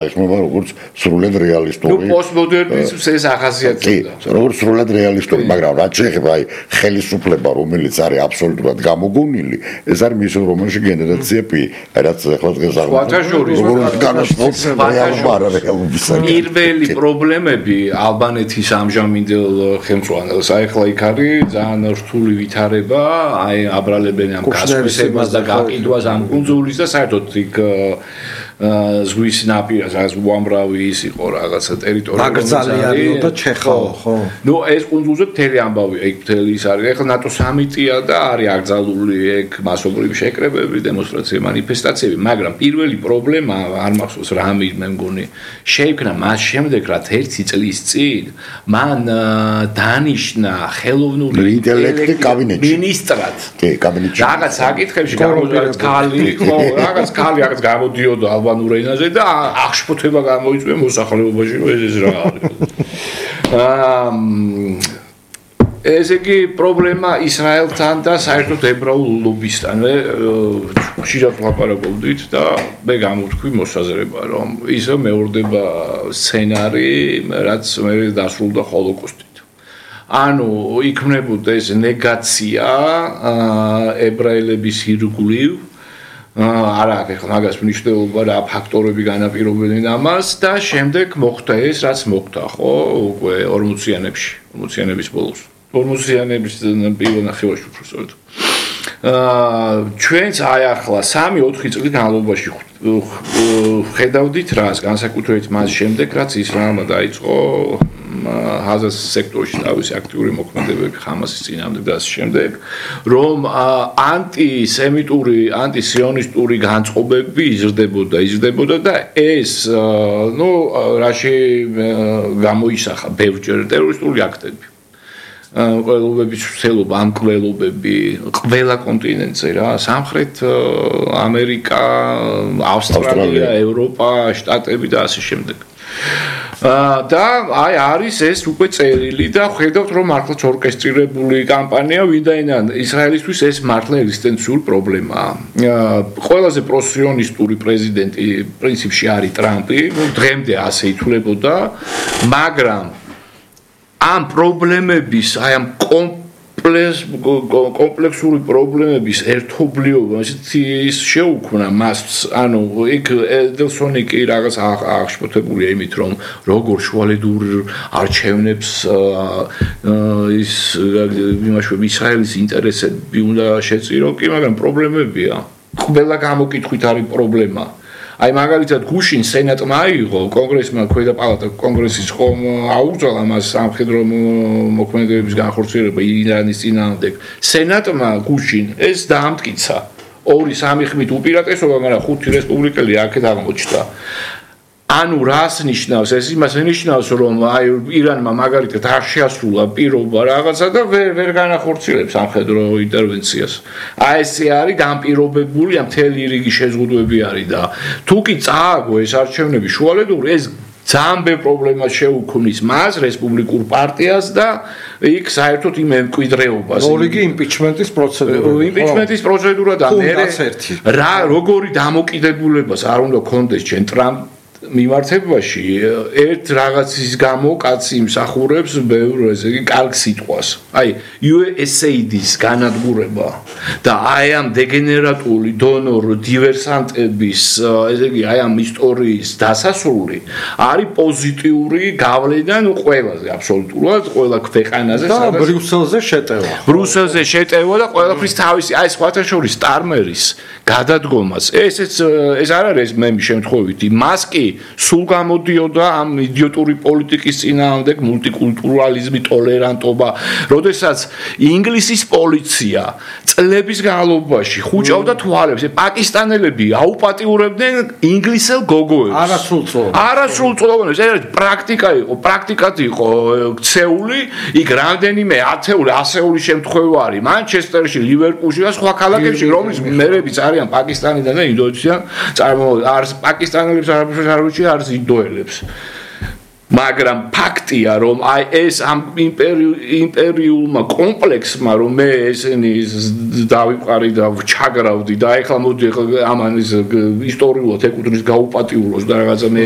ეხმება როგორც სრულად რეალისტური. პოსტმოდერნიზმს ეს ახასიათებდა. როგორც სრულად რეალისტური, მაგრამ რაც შეეხება ხელისუფლება, რომელიც არის აბსოლუტურად გამოგონილი, ეს არის მის რომანში გენერაცია P, რაც ახლა დღეს პირველი პრობლემები ალბანეთის ამჟამინდელ ხელმძღვანელს, ახლა იქ არის ძალიან რთული ვითარება, აბრალებენ ამ გასხვისებას და გაყიდვას ამ კუნძულის და საერთოდ იქ ზღვის ნაპირას, რაც უამრავი ის იყო რაღაცა ტერიტორია. მაგზალიარიო და ჩეხაო, ხო? ნუ ეს კუნძულზე მთელი ამბავია, იქ მთელი ის არის. ეხლა ნატო სამიტია და არის აკრძალული ეგ მასობრივი შეკრებები, დემონსტრაციები, მანიფესტაციები, მაგრამ პირველი პრობლემა არ მახსოვს რა მე მგონი, შეიქმნა მას შემდეგ, რაც 1 წლის წინ მან დანიშნა ხელოვნური ინტელექტი კაბინეტში. მინისტრად. კი, კაბინეტში. რაღაც საკითხებში გამოდიოდა ქალი, ხო, რაღაც გამოდიოდა ალბანურ ენაზე და აღშფოთება გამოიწვია მოსახლეობაში, ეს რა არის. ესე იგი პრობლემა ისრაელთან და საერთოდ ებრაულ ლობისთან. ხშირად ვაპარაკობდით და მე გამოთქვი მოსაზრება, რომ ისე მეორდება სცენარი, რაც მე დასრულდა ჰოლოკოსტით. ანუ იქმნებოდა ეს ნეგაცია ებრაელების ირგვლივ არა აქვს ახლა მაგას მნიშვნელობა რა ფაქტორები განაპირობებენ ამას და შემდეგ მოხდა ეს რაც მოხდა ხო უკვე 40-იანების ბოლოს 40-იანების პირველ ნახევარში უბრალოდ ჩვენც აი ახლა 3-4 წლის განმავლობაში ხედავდით რას განსაკუთრებით მას შემდეგ რაც ისრაელმა დაიწყო ჰაზას სექტორში თავისი აქტიური მოქმედებები ხამასის წინააღმდეგ და ასე შემდეგ რომ ანტისემიტური ანტისიონისტური განწყობები იზრდებოდა და ეს ნუ რაში გამოისახა ბევრჯერ ტერორისტული აქტები ყველობების ცელობა ამ ყველობები ყველა კონტინენტზე რა სამხრეთ ამერიკა ავსტრალია ევროპა შტატები და ასე შემდეგ და აი არის ეს უკვე წერილი და ხედავთ რომ მართლაც ორკესტრირებული კამპანია ვინაიდან ისრაელისთვის ეს მართლა ეგზისტენციური პრობლემაა. ყველაზე პროსიონისტური პრეზიდენტი პრინციპში არის ტრამპი, დღემდე ასე ითვლებოდა, მაგრამ ამ პრობლემების, აი ამ კომპლექსური პრობლემების ერთობლიობა ის შეუქმნა მას ანუ იქ ედელსონი კი რაღაც აღშფოთებულია იმით რომ როგორ შუალედურ არჩევნებს ის იმაშუა ისრაელის ინტერესები უნდა შეწირო კი მაგრამ პრობლემებია ყველა გამოკითხვით არის პრობლემა აი მაგალითად გუშინ სენატმა აიღო კონგრესმა ქვედა პალატა კონგრესის ხომ აუგზავნა მას სამხედრო მოქმედებების განხორციელება ირანის წინააღმდეგ სენატმა გუშინ ეს დაამტკიცა 2-3 ხმით უპირატესობა მაგრამ 5 რესპუბლიკელი აქეთ აღმოჩნდა ანუ რას ნიშნავს ეს იმას ნიშნავს რომ აი ირანმა მაგალითად არ შეასრულა პირობა რაღაცა და ვერ განახორციელებს სამხედრო ინტერვენციას აი ესე არის განპირობებული ამ მთელი რიგი შეზღუდვები არის და თუ კი წააგო ეს არჩევნები შუალედური ეს ძალიან ბევრ პრობლემას შეუქმნის მას რესპუბლიკურ პარტიას და იქ საერთოდ იმ მემკვიდრეობას რიგი იმპიჩმენტის პროცედურა და მე რა როგორი დამოკიდებულებას არ უნდა გქონდეს ჩვენ ტრამპ მიმართებაში ერთ რაღაცის გამო კაცი იმსახურებს ბევრ ესე იგი კარგ სიტყვას. აი USAID-ის განადგურება და აი ამ დეგენერატული დონორ დივერსანტების ესე იგი აი ამ ისტორიის დასასრული არის პოზიტიური გავლენა ნუ ყველაზე აბსოლუტურად ყველა ქვეყანაზე სადაც ბრიუსელზე შეტევა და ყველაფრის თავისი აი სხვათა შორის სტარმერის გადადგომას ეს არ არის მე შემთხვევითი მასკი სულ გამოდიოდა ამ იდიოტური პოლიტიკის წინააღმდეგ მულტიკულტურალიზმი, ტოლერანტობა, როდესაც ინგლისის პოლიცია წლების განმავლობაში ხუჭავდა თვალებს, პაკისტანელები აუპატიურებდნენ ინგლისელ გოგოებს. არასრულწლოვანებს, ეს პრაქტიკად იყო ქცეული, იქ რამდენიმე ათეული, ასეული შემთხვევა არის მანჩესტერში, ლივერპულში და სხვა ქალაქებში, რომლის მერებიც არიან პაკისტანიდან და ინდოეთიდან, პაკისტანელებს არც ინდოელებს. მაგრამ ფაქტია რომ აი ეს ამ იმპერიულმა კომპლექსმა რომ მე ესენი დავიყარი და ჩაგრავდი და ეხლა მოდი ამან ის ისტორიულად ეკუთვნის გაუპატიუროს და რაღაცა მე